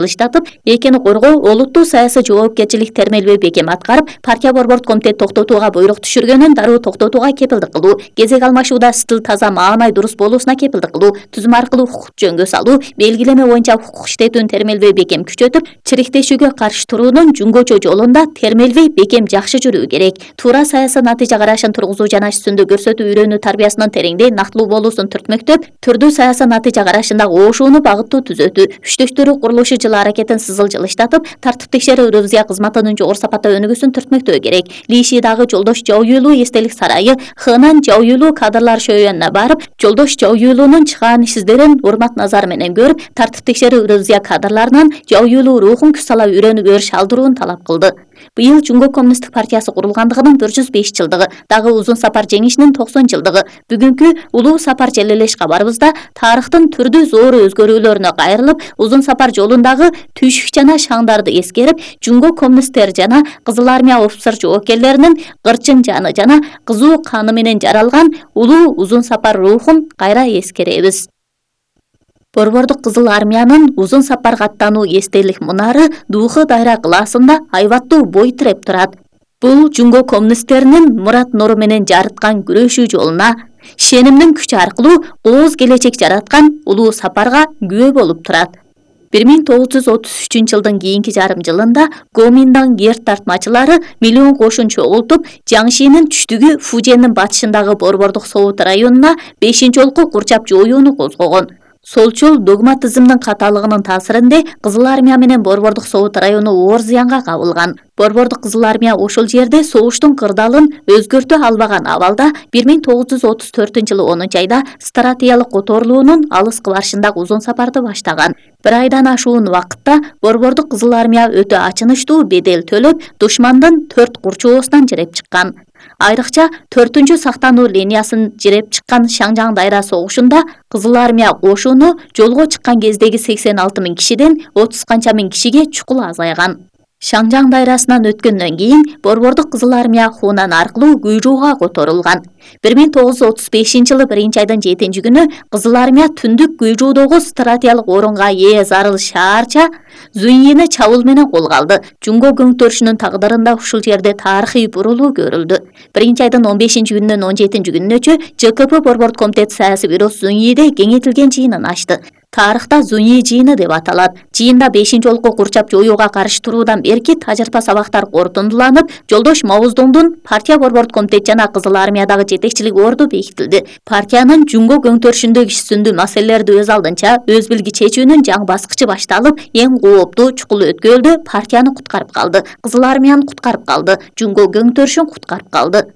Жылыштатып, экени коргоо олуттуу саясий жоопкерчилик термелбей бекем аткарып, партия борбордук комитет токтотууга буйрук түшүргөнүн дароо токтотууга кепилдик кылуу, кезек алмашууда стил таза маанай дурус болуусуна кепилдик кылуу, түзүм аркылуу укук жөнгө салуу, белгилеме боюнча укук иштетүүнү термелбей бекем күчөтүп, чириктешүүгө каршы туруунун жөнгөчө жолунда термелбей бекем жакшы жүрүү керек. Туура саясий натыйжа карашын тургузуу жана үстүндүк көрсөтүү үйрөнүү тарбиясынын тереңдей нактылуу болуусун түртмөктөп, түрдүү саясий натыйжа карашындагы оошууну багыттуу түзөтүү, күчтөштүрүү курулушу жыл аракетин сызыл жылыштатып, тартип текшерүү ревизия кызматынын жогору сапатта өнүгүүсүн түртмөктөө керек. Лишидагы Жолдош Жаоюйлуу эстелик сарайы Хынан Жаоюйлуу кадрлар шөөнүнө барып, Жолдош Жаоюйлуунун чыгаан ишсиздерин урмат назары менен көрүп, тартип текшерүү ревизия кадрларынан Жаоюйлуу рухун күч сала үйрөнүп шалдырууну талап кылды. Быйыл Жумго коммунисттик партиясы курулгандыгынын 405 жылдыгы, дагы Узун Сапар жеңишинин 90 жылдыгы. Бүгүнкү улуу сапар желелеш кабарыбызда тарыхтын түрдүү зор өзгөрүүлөрүнө кайрылып, Узун Сапар жолундагы түйшүк жана шаңдарды эскерип, Жумго коммунисттер жана Кызыл армия офицер жоокерлеринин кырчын жаны жана кызуу каны менен жаралган улуу Узун Сапар рухун кайра эскеребиз. Борбордук Кызыл армиянын Узун Сапарга аттануу эстелик мунары Духы Дайра кылаасында айбаттуу бой тиреп турат. Бул Жумго коммунисттеринин мурат нуру менен жарыткан күрөшүү жолуна, ишенимдин күчү аркылуу кооз келечек жараткан улуу сапарга күбө болуп турат. 1933 жылдын кийинки жарым жылында Гоминдан герт тартмачылары миллион кошун чогултуп, Жаңшинин түштүгү Фуженин батышындагы борбордук Совут районуна 5-олку курчап жоюуну козгогон. Солчул догматизмдин каталыгынын таасиринде Кызыл армия менен борбордук Совут району оор зыянга кабылган. Борбордук Кызыл армия ошол жерде согуштун кырдаалын өзгөртө албаган абалда 1934-жылы 10-айда стратегиялык которулуунун алыскы барышындагы Узун Сапарды баштаган. Бир айдан ашуун убакытта борбордук Кызыл армия өтө ачынычтуу бедел төлөп, душмандын 4 курчоосунан жиреп чыккан. Айрыкча 4-чү сактануу линиясын жиреп чыккан Шаңжаң дайра согушунда Кызыл армия кошуну жолго чыккан кездеги 86 000 кишиден 30 канча миң кишиге чукул азайган. Шаңжаң дайрасынан өткөндөн кийин борбордук Кызыл армия Хунан аркылуу Гуйжууга которулган. 1935-жылы 1-айдын 7-күнү Кызыл армия түндүк Гуйжуудогу стратегиялык орунга ээ зарыл шаарча Зуньини чабуул менен колго алды. Жумго көңтөрүшүнүн тагдырында ушул жерде тарыхый бурулуу көрүлдү. 1-айдын 15-күнүнөн 17-күнүнөчө ЖКП борбордук комитет саясий бюросу Зуньиде кеңейтилген жыйынын ачты. Тарыхта Зуньи жыйыны деп аталат. Жыйында 5-олку курчап жоюуга каршы туруудан берки тажырпа сабактар корутундуланып, Жолдош Мавыздоңдун партия борбордук комитет жана Кызыл армиядагы жетекчилик орду бекитилди. Партиянын Жумго көңтөрүшүндөгү иш-сүндүү маселелерди өз алдынча өз билги чечүүнүн жаңы баскычы башталып, эң кооптуу чукул өткөлдү партияны куткарып калды, Кызыл армияны куткарып калды, Жумго көңтөрүшүн куткарып калды.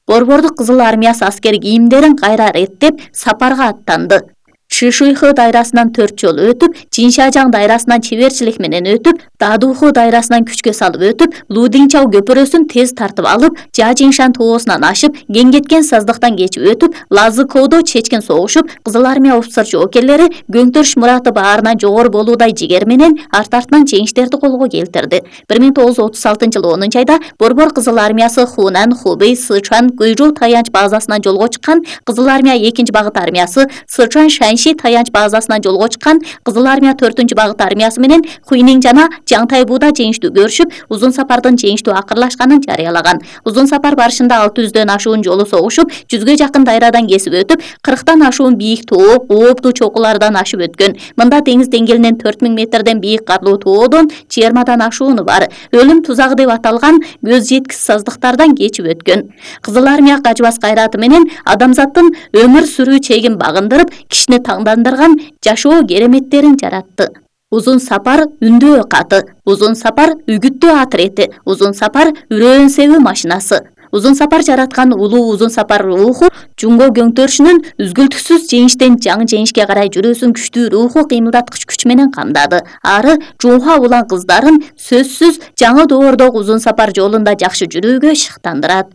Борбордук Кызыл армиясы аскер кийимдерин кайра реттеп, сапарга аттанды. Шишуйхы дайрасынан 4 жолу өтүп, Жиншажаң дайрасынан чеберчилик менен өтүп, Дадуху дайрасынан күчкө салып өтүп, Лудиңчау көпүрөсүн тез тартып алып, Жажиңшан тоосунан ашып, Кеңгеткен саздыктан кечип өтүп, Лазыкоодо чечкен согушуп, Кызыл армия офицер жоокерлери көңтөрүш мураты баарынан жогору болуудай жигер менен арт-артынан жеңиштерди колго келтирди. 1936-жылы 10-айда борбор Кызыл армиясы Хунан, Хубей, Сычуан, Гуйжу таянч базасынан жолго чыккан, Кызыл армия 2-багыт армиясы Сычуан Шанши таянч базасынан жолго чыккан, Кызыл армия 4-багыт армиясы менен Хуйнин жана Жаңтайбууда жеңиштүү көрүшүп, Узун Сапардын жеңиштүү акырлашканын жарыялаган. Узун Сапар барышында 600дөн ашуун жолу согушуп, 100гө жакын дайрадан кесип өтүп, 40тан ашуун бийик тоо, ооптуу чокулардан ашып өткөн. Мында деңиз деңгээлинен 4000 метрден бийик карлуу тоодон 20дан ашууну бар. Өлүм тузагы деп аталган көз жеткис саздыктардан кечип өткөн. Кызыл армия качбас кайраты менен адамзаттын өмүр сүрүү чегин багындырып, кишини таңдандырган жашоо кереметтерин жаратты. Узун Сапар үндөө каты, Узун Сапар үгүттөө атрети, Узун Сапар үрөөн себүү машинасы. Узун Сапар жараткан улуу Узун Сапар руху Жумго көңтөрүшүнүн үзгүлтүксүз жеңиштен жаңы жеңишке карай жүрүүсүн күчтүү руху кыймылдаткыч күч менен камдады. Ары жууга улан кыздарын сөзсүз жаңы доордогу Узун Сапар жолунда жакшы жүрүүгө шыктандырат.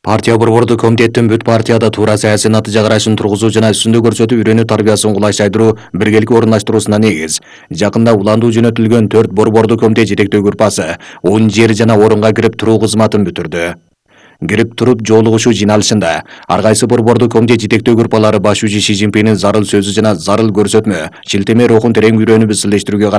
Партия борбордук комитеттин бүт партияда туура саясий натыйжа карашын тургузуу жана үстүндүк көрсөтүү үйрөнүү тарбиясын кулайчайдыруу биргеликке орундаштыруусуна негиз. Жакында уландуу жөнөтүлгөн 4 борбордук комитет жетектөө группасы 10 жер жана орунга кирип туруу кызматын бүтүрдү. кирип туруп жолугушуу жыйналышында ар кайсы борбордук комитет жетектөө группалары башчы Ши Цзиньпиндин зарыл сөзү жана зарыл көрсөтмө, шилтеме рухун терең үйрөнүп изилдештирүүгө